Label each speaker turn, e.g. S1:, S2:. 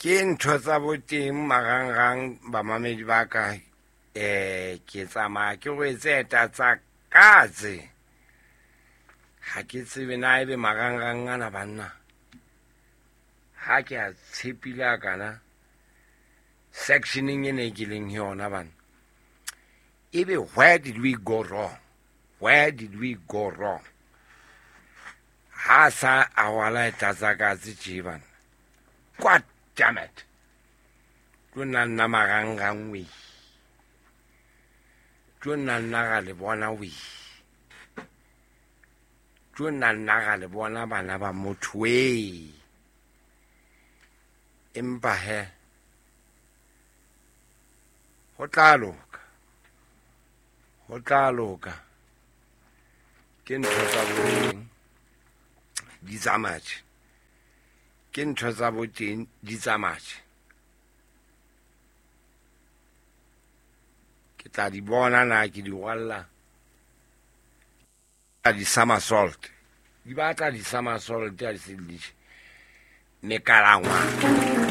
S1: Ke ntho tsa boteng marangrang bamamedi ba ka, ke tsamaya ke rwetse eta tsa katse. Ha ke tsebe na ebe marangrang ana banna. Ha ke a tshepile a kana sectioneng e ne ke leng yona bana. Ebe where did we go wrong? Where did we go wrong? Ha sa a rwala eta tsa katse tje bana. God damn it. Tlo nna nna marangrang we. Tlo nna nna ra le bona we. Tlo nna nna ra le bona bana ba motho we. Empa he ho tla loka. Ho tla loka. Ke ntho tsa boteng di tsamatjhe. Ke ntho tsa boteng di tsamatjhe. Ke tla di bona na ke di rwalla di somersault. Di batla di somersault ha di se di mekalangwana.